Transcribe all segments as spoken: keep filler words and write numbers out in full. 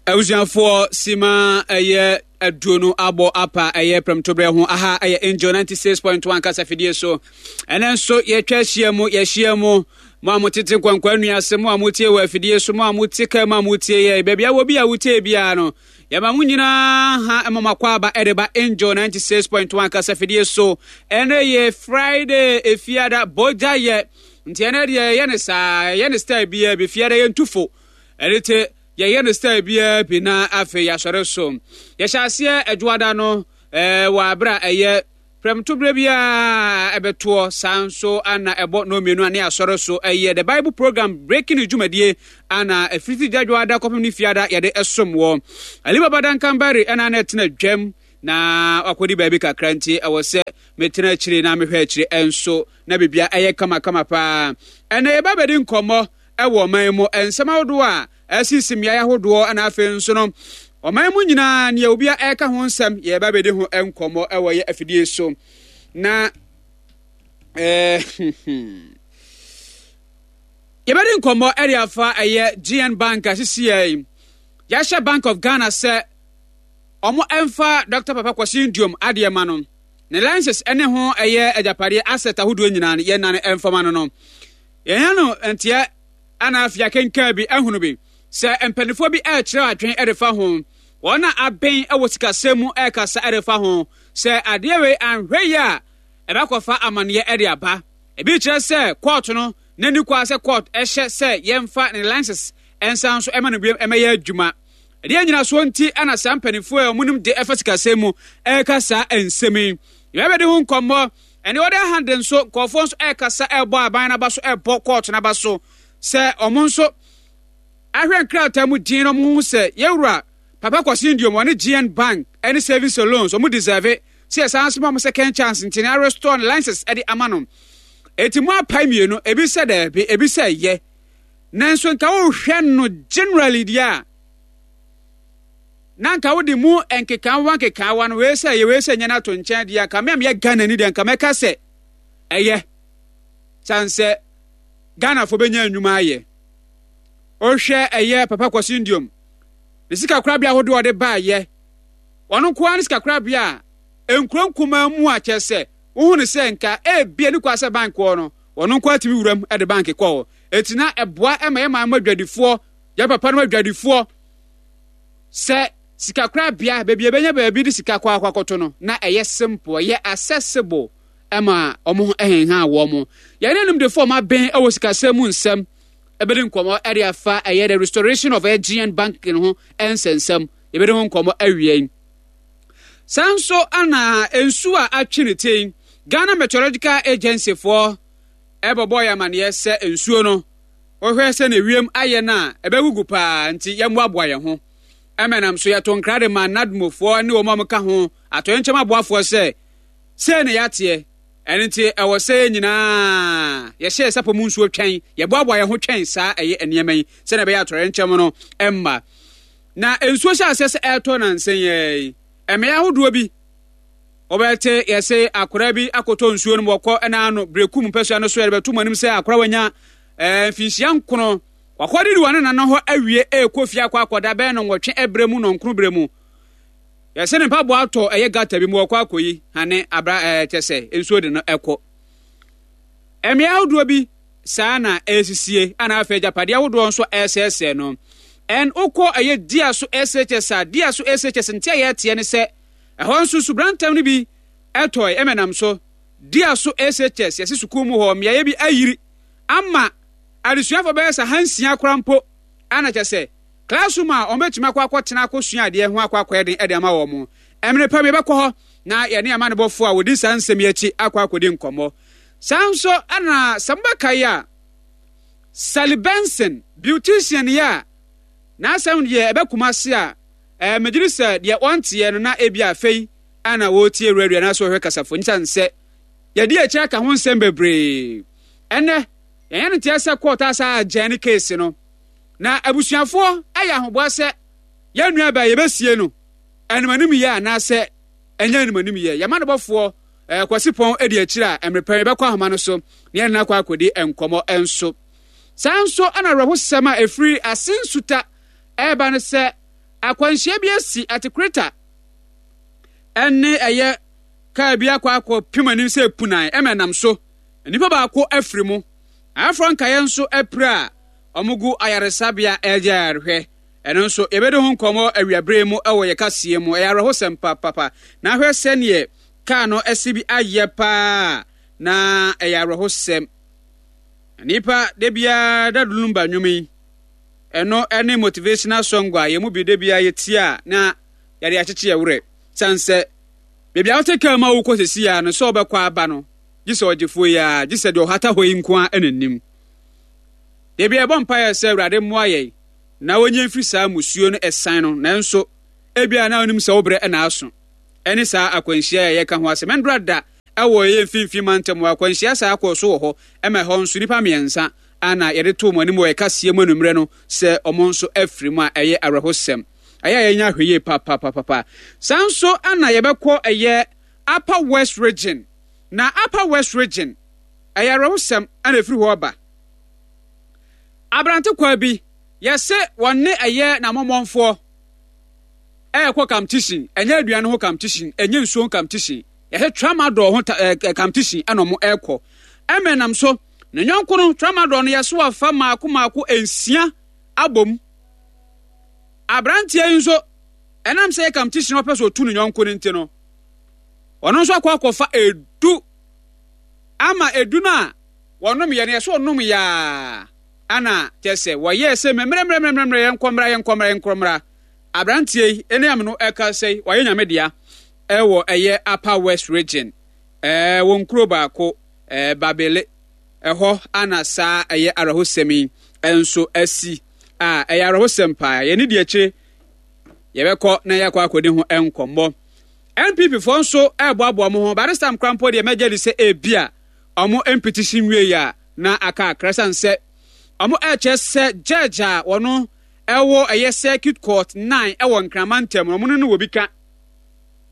Abusuafoɔ, sima ɛyɛ aduonu abɔ apa ɛyɛ prɛmtoberɛ ho. Aha ɛyɛ Angel ninety-six point one kasafidie so. Ɛnɛ nso yɛtwa ahyia mu, yɛahyia mu. Mo a motete nkwankwa nnua ase, mo a motie wɔ afidie so, mo a mote kaa mu a motie yɛ, baabi a wɔ bi a wotie biara no, yɛma mo nyinaa ha ɛma mo akɔ aba ɛde ba Angel ninety-six point one kasafidie so. Ɛnɛ yɛ Friday, Efiada bogya yɛ, nti ɛnɛ deɛ yɛyɛ ne saa, yɛyɛ ne style biara bi. Fiada yɛntufo ɛne te yɛyɛ no style biara bi na afei yɛasɔre so. Yɛhyɛ aseɛ Adwoada no ɛɛ wɔ abere a ɛyɛ prɛmtoberɛ biara ɛbɛtoɔ saa nso ana ɛbɔ no mmienu a ne asɔre so ɛyɛ The Bible Program Breaking News dwumadie ana ɛfiri dwadwoada kɔpem ne Fiada yɛde ɛsom wɔ Alibaba Dankambari ɛna na ɛtena dwam na wakɔdi baabi kakra, nti ɛwɔ sɛ metena akyire na mehwɛ akyire ɛnso na biribia ɛyɛ kamakama paa. Ɛnɛ yɛba bɛdi nkɔmmɔ ɛwɔ ɔman mu nsɛm ahodoɔ a ɛsisi mmeaeɛ ahodoɔ, ɛna afei nso no ɔman mu nyinaa nea obi a ɛreka ho nsɛm, yɛba bɛdi ho nkɔmmɔ ɛwɔ yɛ afidie so. Na ɛɛ yɛbɛdi nkɔmmɔ ɛde afa ɛyɛ G N Bank asisi yɛ yɛahyɛ Bank of Ghana sɛ ɔmo ɛmfa Doctor Papa Kwasi Nduom adeɛ ma no, ne license ɛne ho ɛyɛ agyapadeɛ asset ahodoɔ nyinaa no yɛnane ɛmfama no no Yɛn no nteɛ ana afei akenkan bi ahunu bi sɛ mpanimfoɔ bi ɛrekyerɛ adwene ɛde fa ho, wɔn a abɛn ɛwɔ sikasɛm mu ɛrekasa ɛde fa ho sɛ adeɛ wei anhwɛ yi a ɛbɛkɔfa amanneɛ ɛde aba. Ebi kyerɛ sɛ court no n'ani kɔ sɛ court ɛhyɛ sɛ yɛmfa ne license ɛnsan so ɛma no bio ɛmɛyɛ adwuma. Ɛdeɛ nyinasoɔ nti ɛna saa mpanimfoɔ a wɔn de ɛfa sikasɛm mu ɛreka saa nsɛm yi, yɛbɛde ho nkɔmmɔ. Ɛne ɔde ahande nso nkɔɔfoɔ nso ɛrekasa ɛrebɔ aban n'aba so, ɛrebɔ court n'aba so sɛ ɔmo nso ahwɛ nkrataa mu din no, ɔmo ho sɛ yɛwura Papa Kwasi Nduom wɔne G N Bank ɛne Savings and Loans ɔmo deserve sɛ yɛsan so ma ɔmo second chance, nti na restore ne license ɛde ama no. Eti mu apae mmienu, ebi sɛ dɛɛbi, ebi sɛ yɛ, nanso nka wohwɛ no generally deɛ a, na nka wode mu nkekaawa nkekaawa no, wei sɛ yɛ, wei sɛ nyɛ no ato nkyɛn deɛ, nka me a meyɛ Ghana ni deɛ, nka mɛka sɛ ɛyɛ kyɛn sɛ Ghanafoɔ bɛnya nnwuma ayɛ. Wohwɛ ɛyɛ Papa Kwasi Nduom ne sika korabea ahodoɔ ɔde baayɛ, ɔno nko ara ne sika korabea a nkuro nkumaa mu a kyerɛ sɛ wohu ne sɛ nka ebia ne kwa sɛ bank wɔ no, ɔno nko atumi wuram de bank kɔ hɔ. Eti na ɛboa ɛma yɛ maa mu adwadifoɔ, yɛ papa no adwadifoɔ, sɛ sika korabea baabi ebɛnya baabi de sika kɔ akɔ akɔto no, na ɛyɛ simple, ɛyɛ accessible ɛma wɔn ho ɛhenhan wɔn mo. Yɛn animdefoɔ ɔmo abɛn ɛwɔ sikasɛm mu nsɛm ɛbɛdi nkɔmɔ ɛde afa ɛyɛ the restoration of G N Bank no ho ɛnsɛnsɛm, yɛbɛdi ho nkɔmɔ awie yi. Saa nso ana nsuo a atwe ne ti, Ghana Meteorological Agency foɔ ɛbɛbɔ yɛ amaneɛ sɛ nsuo no, wɔhwɛ sɛ na ewiem ayɛ no a, ɛbɛgugu paa, nti yɛmmoaboa yɛn ho. Ɛmɛnam so yɛto nkra de ma NADMOfoɔ ne wɔn a wɔka ho atɔyɛnkyɛm aboafoɔ sɛ sei na yɛateɛ ɛno, nti ɛwɔ sɛ yɛn nyinaa yɛhyɛ sapɔ mu nsuo twɛn, yɛboaboa yɛn ho twɛn saa ɛyɛ nneɛma yi sɛnea ɛbɛyɛ atɔyɛnkyɛm no ɛmma. Na nsuo hyɛ aseɛ sɛ ɛretɔ nansa yi, mmea ahodoɔ bi wɔbɛte yɛsɛ akwaraa bi akɔtɔ nsuo no mu, wɔkɔ ɛna ano Berekum mpɛsua no so. Yɛde bɛto mu anim sɛ akwaraa wanya ɛɛ mfinhyia nkono wakɔde di wɔne nana hɔ awie ɛrekɔ fie akɔ akɔda bɛyɛ no nwɔtwe ɛbrɛ mu nɔnkoro brɛ mu, yɛsɛ ne mpaboa atɔ ɛyɛ gutter bi mu, wɔkɔ akɔyi hane abra ɛɛ kyɛ sɛ nsuo de no ɛkɔ. Mmea ahodoɔ bi saa na ɛresisie, ana afei agyapadeɛ ahodoɔ nso ɛresɛesɛe no. Ɛn wokɔ ɛyɛ dia so S H S a, dia so S H S nti a yɛteɛ ne sɛ ɛhɔ nso subrantam no bi ɛtɔe ɛmɛnam so dia so S H S, yɛse sukuu mu hɔ mmeaeɛ bi ayiri ama adesuafoɔ bɛyɛ sɛ hansia koraa mpo, ana kyɛ sɛ classroom a wɔn bɛtumi akɔ akɔtena akɔsua adeɛ ho akɔ akɔyɛ den ɛde ama wɔn. Mmerɛ pam yɛbɛkɔ hɔ na yɛne amanebɔfoɔ a wɔdi saa nsɛm yi akyi akɔ akɔdi nkɔmmɔ. Saa nso ɛna sɛ mobɛka yi a, Sally Benson, beautician yi a n'asɛm deɛ ɛbɛkuma ase a ɛɛ megyere sɛ deɛ ɔnteɛ no na ebi afei ana wɔretie radio anaasɛ wɔhwɛ kasafo nkyɛn sɛ yɛde akyi aka ho nsɛm bebree. Ɛnɛ yɛnyɛ no teɛ sɛ court asa agyan ne case no, na abusuafoɔ ayɛ ahoboa sɛ yɛn nua baa yɛbɛsie no animanim yɛ anaasɛ ɛnyɛ animanim yɛ. Yɛma no bɔfoɔ ɛɛ Kwasi Pɔn adi akyire a, mmerɛ pɛn yɛbɛkɔ ahoma no so na yɛn nana akɔ akɔdi nkɔmɔ nso. Saa nso ɛna awerɛhosɛm a ɛfiri ase nsuta ɛreba no sɛ Akwanhyia bi asi Atekreta ɛne ɛyɛ kaa bi akɔ akɔ pem anim sɛ punan ɛma nam so. Nnipa baako afiri mu. Afoforɔ nkaeɛ nso apira a wɔgu ayaresabea ɛregye ayarehwɛ. Ɛno nso yɛbɛdi ho nkɔmmɔ awiabere mu ɛwɔ yɛ kaseɛ mu. Ɛyɛ awerɛhosɛm papapa. Na ahwɛ sɛneɛ kaa no ɛsi bi ayɛ paa na ɛyɛ awerɛhosɛm. Nnipa da biara da Lumba nnwom yi. Ɛno ɛne motivational song a yɛn mu bi da biara yɛtie a na yɛde akyekye yɛ werɛ. Sane sɛ baabi a wote kaa mu a wokɔ sesi a no sɛ wobɛkɔ aba no gye sɛ ɔgyefoɔ yi a gye sɛ deɛ ɔhata hɔ yi nko a ɛna nim. Da bi ɛbɔ mpaeɛ sɛ Awurade mmoa yɛn na wɔnyɛ mfiri saa musuo no ɛsan no, nanso ebia na wonim sɛ wo berɛ ɛna aso. Ɛne saa akwanhyia a yɛka ho asɛm. Ɛndora da ɛwɔ yɛn mfimfini mantam wɔ akwanhyia saa kɔɔ so wɔ hɔ ɛma ɛhɔ nso nnipa mmiɛnsa ana yɛde too mo anim wɔ ɛkaseɛ mu anummerɛ no sɛ ɔmo nso afiri mu a ɛyɛ awerɛhosɛm. Ɛyɛ a yɛnya ahwɛ yie papapapapa. Saa nso ana yɛbɛkɔ ɛyɛ Upper West Region. Na Upper West Region ɛyɛ awerɛhosɛm ana ɛfiri hɔ aba. Aberante kwa bi yɛse wɔne ɛyɛ n'amɔmmɔnfoɔ ɛɛkɔ competition, ɛnyɛ aduane ho competition, ɛnyɛ nsuo ho competition, yɛsɛ tramadol ho ɛɛ competition ɛna ɔmo ɛɛkɔ. Ɛmɛ nam so ne nyɔnko no tramadol no yɛso wafa maako maako nsia abom. Aberanteɛ yi nso ɛnam sɛ yɛ competition ɔpɛ so otu ne nyɔnko no nti no, ɔno nso akɔ akɔfa edu ama edu no a wɔnom yɛ no yɛsɛ ɔnom yaa ana kyɛ sɛ wɔyɛɛ sɛ mmerɛmmerɛmmerɛmmerɛ yɛnkɔ mmra yɛnkɔ mmra yɛnkɔ mmra. Aberanteɛ yi ɛne am no ɛka sɛ wɔyɛ nyame dea ɛwɔ ɛyɛ Upper West Region, ɛɛ wɔn kuro baako ɛɛ Babele ɛhɔ ana saa ɛyɛ awerɛhosɛm yi ɛnso asi a ɛyɛ awerɛhosɛm paa. Yɛne di akyire yɛbɛkɔ na yɛakɔ akɔdi ho nkɔmmɔ. N P P foɔ nso ɛreboaboa mo ho. By this time koraa mpo deɛ mɛgye di sɛ ebia ɔmo mpetition wie a na aka akra san sɛ ɔmo ɛrekyerɛ sɛ judge a wɔno ɛwɔ ɛyɛ Circuit Court nine ɛwɔ Nkrama ntam no, ɔmo no no wɔ bi ka.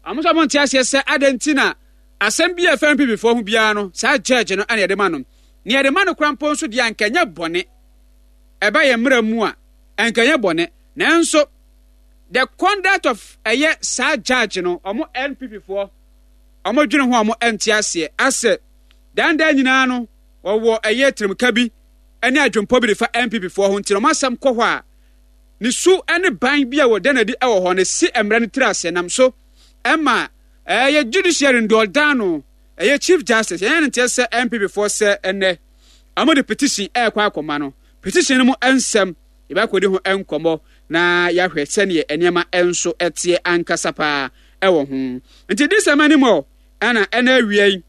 Ɔmo nso ɔmo nte aseɛ sɛ adɛn nti na asɛm bi a ɛfɛ N P P foɔ ho biara no saa judge no ɛna yɛde ma no. Nea yɛde ma no koraa mpo nso deɛ anka ɛnyɛ bɔne. Ɛba yɛn mmerɛ mu a anka ɛnyɛ bɔne, nanso the conduct of ɛyɛ saa judge no, ɔmo N P P foɔ ɔmo dwene ho a ɔmo nte aseɛ asɛ dandan nyinaa no wɔwɔ ɛyɛ tirimka bi ɛne adwempɔ bi de fa N P P foɔ ho, nti na ɔmo asɛm kɔ hɔ a ne su ne ban bi a wɔda n'adi wɔ hɔ no si mmerɛ no tiri ase nam so ɛma ɛyɛ judiciary no deɛ ɔdan no ɛyɛ Chief Justice yɛn ne nteɛ sɛ N P P foɔ sɛ ɛnɛ ɔmo de petition ɛrekɔ akɔma no. Petition no mu nsɛm yɛbɛkɔdi ho nkɔmmɔ na yɛahwɛ sɛneɛ nneɛma nso ɛteɛ ankasa paa ɛwɔ ho. Nti di sɛm anim ɔ ɛna ɛna awia yi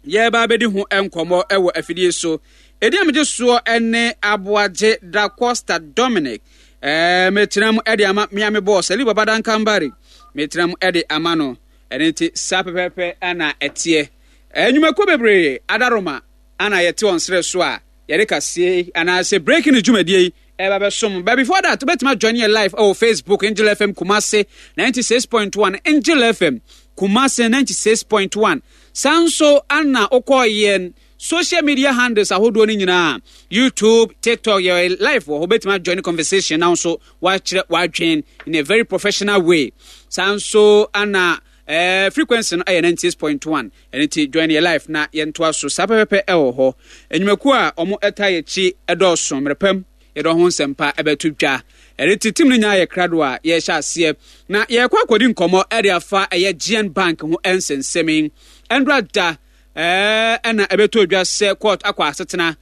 yɛreba abɛdi ho nkɔmmɔ ɛwɔ afidie so. Ɛdi a megye soɔ ɛne Aboagye Da Costa Dominic. ɛɛ metena mu ɛde ama mmea me bɔɔs Ali Baba Dankambari, metena mu ɛde ama no. Ɛno nti saa pɛpɛɛpɛ ɛna ɛteɛ. Ɛnwumakuo bebree adaroma ana yɛte wɔn serɛ so a yɛde kaseɛ anaasɛ breaking news dwumadie yi ɛba bɛsom. But before that, wobɛtumi join yɛ live ɛwɔ Facebook, Angel F M Kumase ninety-six point one, Angel F M Kumase ninety-six point one. Saa nso ana wokɔ yɛn social media handles ahodoɔ no nyinaa, YouTube, TikTok, yɛ live wɔ hɔ. Wobɛtumi join conversation na nso wakyerɛ wadwen in a very professional way. Saa nso ana eh, frequency no ɛyɛ ninety-six point one. Ɛno nti join yɛ live na yɛntoa so saa pɛpɛpɛ ɛwɔ hɔ. Nnwumakuo a ɔmo ɛta yɛkyi ɛdɔɔso mmerɛpam yɛde ho nsɛmpa ɛbɛto dwa. Ɛde ti tim no nyinaa yɛ krado a yɛhyɛ aseɛ na yɛkɔ akɔdi nkɔmmɔ ɛde afa ɛyɛ G N Bank ho nsɛnsɛm. Ɛndora da ɛɛ ɛna ɛbɛtɔ dwa sɛ court akɔ asetena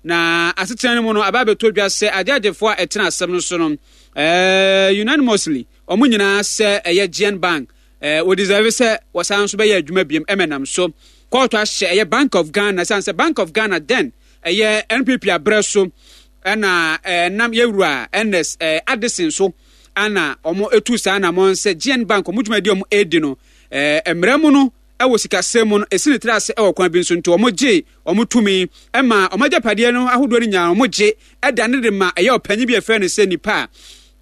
na asetena no mu no aba abɛtɔ dwa sɛ agyagyefoɔ a ɛtena asɛm no so no ɛɛ unanimously ɔmo nyinaa sɛ ɛyɛ G N Bank ɛɛ wɔdeserve sɛ wɔsan nso bɛyɛ adwuma biem. Ɛmɛnam so court ahyɛ ɛyɛ Bank of Ghana san sɛ Bank of Ghana den ɛyɛ N P P abrɛ so ɛna ɛnam yɛwura Ernest ɛɛ Addison so ɛna wɔn etu saa na wɔn sɛ G N Bank wɔn dwumadi a wɔn edi no ɛɛ mmerɛ mu no ɛwɔ sikasɛm mu no esi ne tiri ase ɛwɔ kwan bi nso, nti wɔn gye wɔn tumi ɛma wɔn agyapadeɛ no ahodoɔ no nyinaa wɔn gye ɛda ne de ma ɛyɛ ɔpanyin bi a yɛfrɛ no sɛ nipa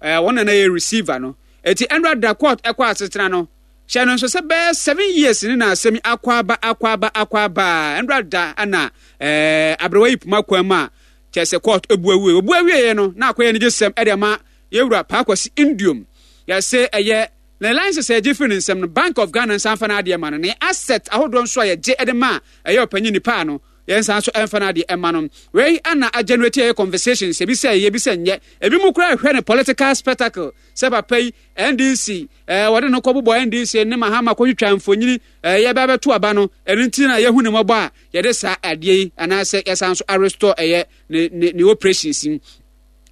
a ɛɛ wɔn nana yɛ receiver no. Eti ɛnura da court ɛkɔ asetena no hyɛ no nso sɛ bɛyɛ seven years ne na asɛm akɔ aba akɔ aba akɔ aba. Ɛnura da ɛna ɛɛ aberewa yi poma kwan mu a kyerɛ sɛ court ebu awie obu awie no na akɔyɛ ne gye sɛm ɛde ama yɛwura Paakwasi Indium Yɛse ɛyɛ ne license a yɛgye firi ne nsam no, Bank of Ghana nsan fa n'adeɛ ma no. Ne asset ahodoɔ nso a yɛgye de ma a ɛyɛ ɔpanyin nipa no, yɛnsan so ɛmfa n'adeɛ ɛma no. Wei ana agenerate ɛyɛ conversations, ebi sɛ ɛyɛ, ebi sɛ nyɛ. Ebi mu koraa ɛhwɛ ne political spectacle sɛ papa yi N D C ɛɛ wɔde no kɔbobɔ N D C ne Mahama kɔtwitwa mfonyini ɛɛ yɛbɛ abɛto aba no. Ɛno nti na yɛhu ne mmɔbɔ a yɛde saa adeɛ yi anaasɛ yɛsan so arestore ɛyɛ ne ne ne operations yi.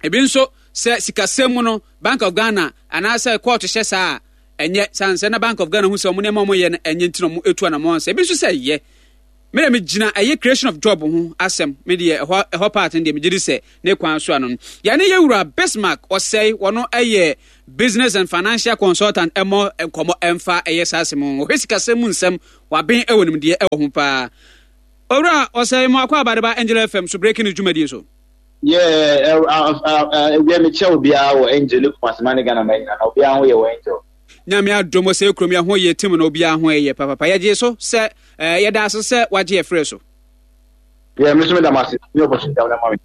Ebi nso sɛ sikasɛm mu no, Bank of Ghana anaasɛ court hyɛ saa a ɛnyɛ san sɛ na Bank of Ghana hu sɛ ɔmo nneɛma ɔmo yɛ no ɛnyɛ, nti na ɔmo etu anamɔ sɛ ebi nso sɛ ɛyɛ. Me na megyina ɛyɛ creation of job ho asɛm. Me deɛ, ɛhɔ ɛhɔ part no deɛ, megye di sɛ ne kwan so ano no yɛne yɛwura Bismarck Ɔsɛe, wɔno ɛyɛ business and financial consultant, ɛmɔ nkɔmmɔ ɛmfa ɛyɛ saa asɛm ho. Wɔhwɛ sikasɛm mu nsɛm, waben ɛwɔ nimdeɛ ɛwɔ ho paa. Owura Ɔsɛe, mo akɔ abadeba Angel F M so, breaking news dwumadie so. Yeah, ɛwia mekyɛ obiara wɔ Angel ne Kumasi ne Ghana ma nyina na obiara ho yɛ wɔ Angel. Nyame adom, sɛ kurom yɛ ho yɛ tim na obiara ho yɛ papapa. Yɛgye so sɛ yɛda ase sɛ wagye yɛ frɛ so. Yeah, me nso meda mo ase ne opportunity a ma me.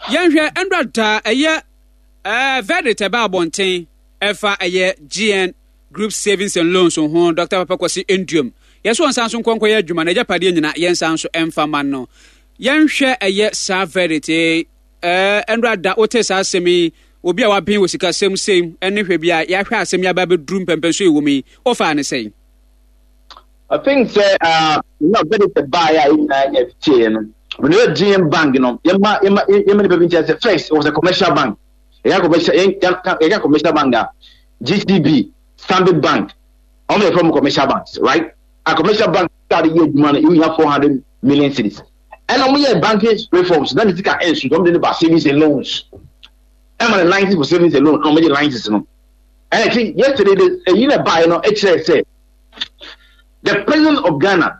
Yɛnhwɛ ɛnora da ɛyɛ ɛɛ verdict ɛba abɔnten ɛfa ɛyɛ G N Group Savings and Loans ho. Doctor Papa Kwasi Nduom, yɛsɛ wɔn nsa nso nkɔnkɔ yɛ adwuma na agyapadeɛ nyina yɛnsa nso ɛmfa ma no. Yɛnhwɛ ɛyɛ saa verdict ɛɛ ɛnora da wote saa asɛm yi, obi a waben wɔ sikasɛm sɛm ɛne hwɛ bi a yɛahwɛ asɛm yi aba abɛduru mpɛmpɛnso ɛwɔ mu yi, wofaa ne sɛn? I think sɛ uh, na verdict baeɛ a yɛn nyinaa nyɛ tie no, when you G N Bank no, yɛma yɛma yɛma nipa bi nkyɛn sɛ first it was a commercial bank. Yɛka commercial, yɛka commercial bank a, G T B, Stanbic Bank, ɔmo yɛ from commercial banks, right? A commercial bank start yɛ adwuma no, you have four hundred million cedis. Ɛna ɔmo yɛ banking reforms na ne sika ɛnso, ɔmo de ne ba savings and loans, ɛma ne license for savings and loan, ɛna ɔmo gye license no. Ɛna ti yesterday de ɛyi na baeɛ no ɛkyerɛ sɛ the President of Ghana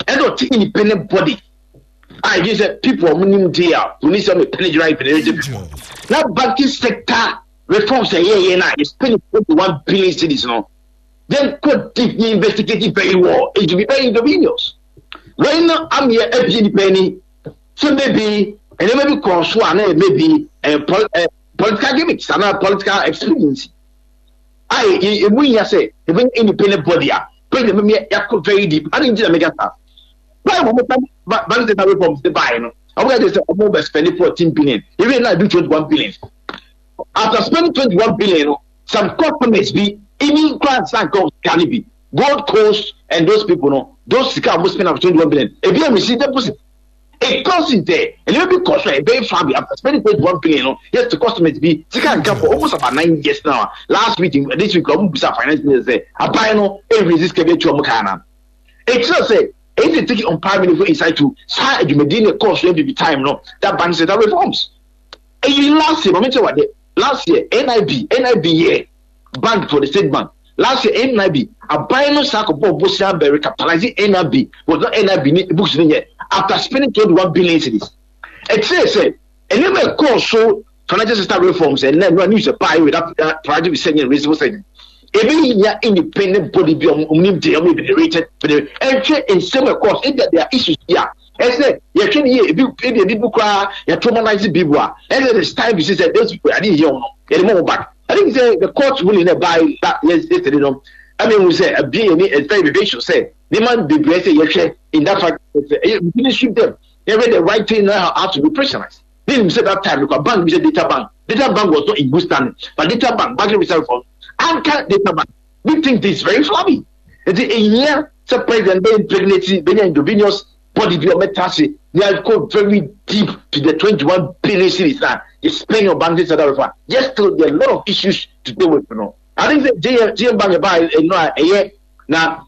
ɛna ɔte independent body a ɛgye sɛ people a wɔn nim de a wɔn sɛ wɔn penetrate penetrate people na banking sector reforms ɛyɛ yɛ na yɛ spend twenty one billion cedis no, then go deep, investigate it very well. It should be very inconvenient wɛn no ameɛ abie nipa ani sɛ maybe nneɛma bi kɔɔ so a na maybe ɛɛ pol ɛɛ political gimmicks anaa political expediency a emu nyia sɛ ebi independent body a president mi yakɔ very deep adi nti na mega saa báyìí. Wɔn mo bank sector reforms de báyìí no, wɔn ka kyerɛ sɛ wɔn bɛ spend fourteen billion, even now do twenty one billion. After spending twenty one billion no, some customers bi even kura nsa nka sika no bi, Gold Coast and those people no, those sika a wɔn spend after twenty one billion, ebi a receive deposit. It comes in there and it be cost right very far. After spending twenty one billion no, yes, the customers bi sika nka for almost about nine years now. Last week, this week, wɔn bisa finance minister sɛ aban no ebi sika bi etu wɔn kaa na ekyirɛ sɛ eyi take on prime minister inside to saa adwumadie ne kɔɔ so N P P time no, that bank sector reforms eyi. Last year, maame kyerɛ wade, last year nib nib yɛ bank for the state bank. Last year N I B aban no saa kɔbɔ bosia bɛ recapitalizing N I B, was not N I B ni books ni yɛ after spending twenty one billion cedis. Ɛkyerɛ sɛ nneɛma ɛkɔɔ so, financial system reforms, ɛnna ɛnua news ɛbaa yi with that priority bi sɛ nyɛ reasonable sɛ ebi nya independent body bi ɔmo nim de ɔmo ebi rated ɛnhwɛ nsɛm ɛkɔɔ so. Ebi there are issues bi a ɛsɛ yɛhwɛ ne yie. Ebi ebi ebi bu koraa yɛ traumatize bi bu a ɛsɛ it's time to see sɛ those people ade yɛ wɔn no yɛde mo back. I think sɛ the court ruling na ɛbaa that yesterday no, ɛna ehu sɛ abie yɛ ni, it's very vivacious sɛ nneɛma bebree sɛ yɛhwɛ in that fact sɛ ɛyɛ we finish them, yɛhwɛ the right thing now, how to be operationalized. Ne nim sɛ that time because bank bi sɛ Data Bank, Data Bank was not in good standing, but Data Bank, banking reserve reform anka Data Bank, we think this very flabby. Nti ehia sɛ president bɛ impregnate, bɛnya intravenous body bi a ɔbɛta ase ne akɔ very deep to the twenty one billion cedis na you spend on banking sector reform. Yes, still there are a lot of issues to deal with no. I think sɛ G N G N Bank ɛba ɛno a ɛyɛ na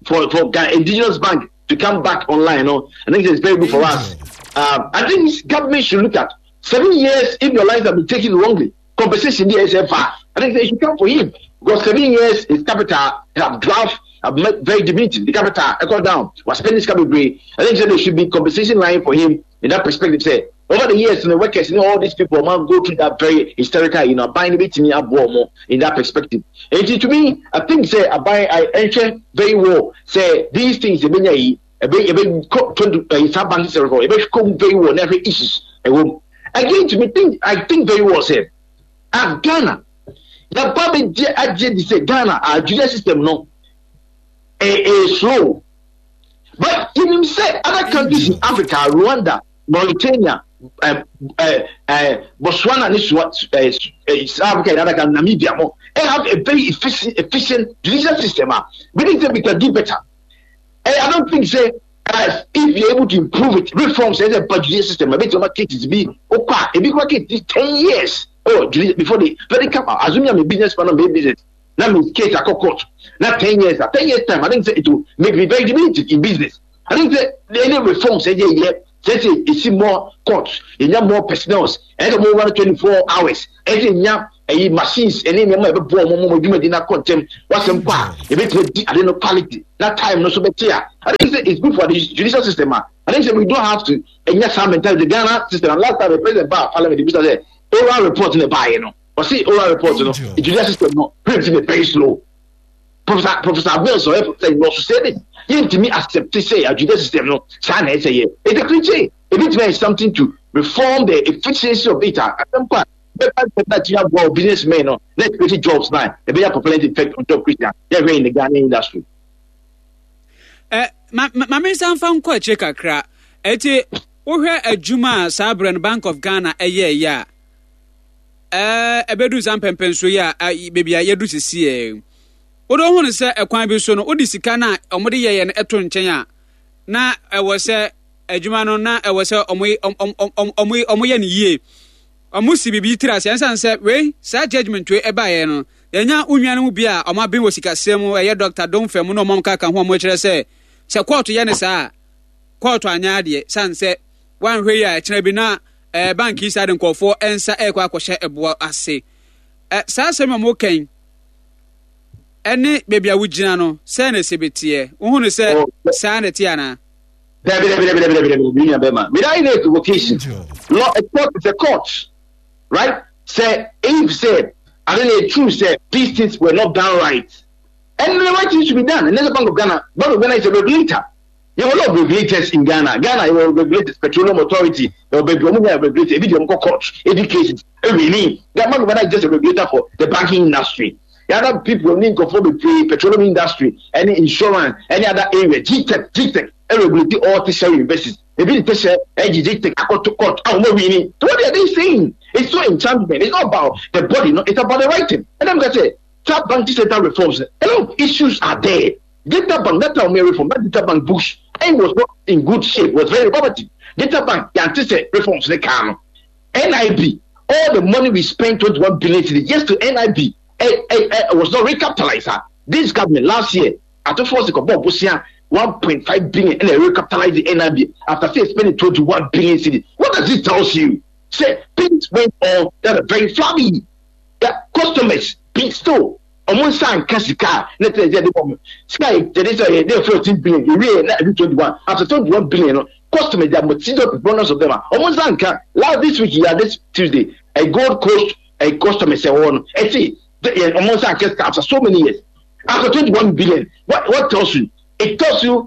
for for Ghana indigenous bank to come back online no, I think it's very good for us. um, I think government should look at seven years. If your life have been taken wrongly, compensation there is far. I think it should come for him because seven years his capital have draft have made very diminutive. The capital go down, was spending this capital. I think there should be compensation line for him in that perspective. Say over the years, you know, workers, you know, all these people man go through that very hysterical, you know, buying bit me more in that perspective. And to me, I think say I buy I enter very well. Say these things, they be ebe ebe twenty saa banking sector ebe come very well every issues. Again, to me, think I think very well say at Ghana Yaba bɛgye agye di sɛ Ghana a judicial system no ɛyɛ slow. But yɛnim sɛ other countries in Africa, Rwanda, Mauritania, uh, uh, uh, Botswana ne Swa, uh, South Africa and other countries, Namibia mo, they have a very efficient, efficient judicial system. Ah, we think that we can do better. Eh, I don't think sɛ uh, if you're able to improve it, reforms as a judicial system, a bit of cases be okay, ebi kwa case ten years. Oh, before the very come out, assuming I'm a businessman, I'm a business. Now my case I court. Now ten years, ten years time, I think it will make me very limited in business. I think that any reforms, say yeah, yeah, say say see more courts, you need more personnel, and more run twenty four hours, and you ɛyi machines ɛne nneɛma a ɛbɛboa wɔn mo dwumadi na kɔ ntɛm wasɛm kɔ a ebɛtumi di ade no quality na time no so bɛte a I think sɛ it's good for the judicial system a I think sɛ we don't have to ɛnya saa mentality the Ghana system and last time the president ba parliament ebisa sɛ oral report na ɛbaayɛ no ɔsi oral report no the judicial system no print no very slow professor professor Mills ɔyɛ professor yi ɔso sɛ de yɛntumi accept sɛ a judicial system no saa na ɛsɛ yɛ it's a cliche ebi tumi ayɛ something to reform the efficiency of it a asɛm kɔ a bɛba ntɛm na tumi aboa o businessmen no na create jobs na ɛbɛyɛ propellant effect on job creation yɛhwɛ in the Ghana industry. ɛ ma ma me nsa nfa nkɔ akyire kakra eti wohwɛ adwuma a saa berɛ no Bank of Ghana ɛyɛɛyɛ a ɛɛ ɛbɛdu saa mpɛmpɛnso yi a beebi a yɛdu sisi yɛ wode ho no sɛ ɛkwan bi so no wode sika no a ɔmode yɛyɛ no ɛto nkyɛn a na ɛwɔ sɛ adwuma no na ɛwɔ sɛ ɔmo ɔmo ɔmo yɛ no yie ɔmo si biribi tiri ase ɛnsan sɛ wei saa judgement wei ɛbaeɛ no yɛnya wo nua no mu bi a ɔmo aben wɔ sikasɛm mu ɛyɛ doctor Domfɛ mu na ɔmo kaka ho ɔmo kyerɛ sɛ sɛ kɔɔto yɛ ne saa a kɔɔto anyɛ adeɛ san sɛ wanhwɛ yi a ɛkyerɛ bi na ɛɛ bank yi saa de nkɔɔfoɔ nsa ɛrekɔ akɔhyɛ ɛboɔ ase ɛ saa asɛm a ɔmo kɛn ɛne beebi a wogyina no sɛn na ɛsɛ bɛteɛ wohu no sɛ saa na ɛte anaa Dabi dabi dabi dabi dabi dabi dabi nua bɛma without any equivocation law a court is a court right sɛ if sɛ ade na true sɛ these things were not done right and the right thing should be done and the Bank of Ghana Bank of Ghana is a regulator you have a lot of regulators in Ghana Ghana you have regulators Petroleum Authority you have ɔmo nyɛ regulator ebi di ɔmo kɔ court ebi cases ebi ni the Bank of Ghana is just a regulator for the banking industry the other people ní nkɔfo bebree petroleum industry any insurance any other area GTEC GTEC regulate all tertiary universities ebi ni tertiary ɛgye GTEC akɔto court a wɔn awi ni so what are they saying it's so enchantment it's not about the body no it's about the writing and I'm gonna say that banking sector reforms a lot of issues are there Data Bank that time reform that Data Bank books it was not in good shape was very poverty Data Bank yante sɛ reforms ne kaa no NIB all the money we spent twenty-one billion cedis yes to NIB eh, eh, eh, was not recapitalized ah this government last year Ato Forson kɔbɔ bosia one point five billion and they recapitalize the NIB after sɛ spending twenty-one billion cedis what does it tell you sɛ things went on that are very flabby the customers be still ɔmo nsa nka sika a ne tẹ ɛsɛ ɛde bɔ mo sika yɛ yɛde sɛ yɛ de fourteen billion ewie na ɛde twenty one after twenty one billion no customers they are multitude bonus of them a ɔmo nsa nka last this week ya this Tuesday a Gold Coast a customer sɛ wɔn no ɛti ɔmo nsa nka sika after so many years after twenty one billion what what tells you it tells you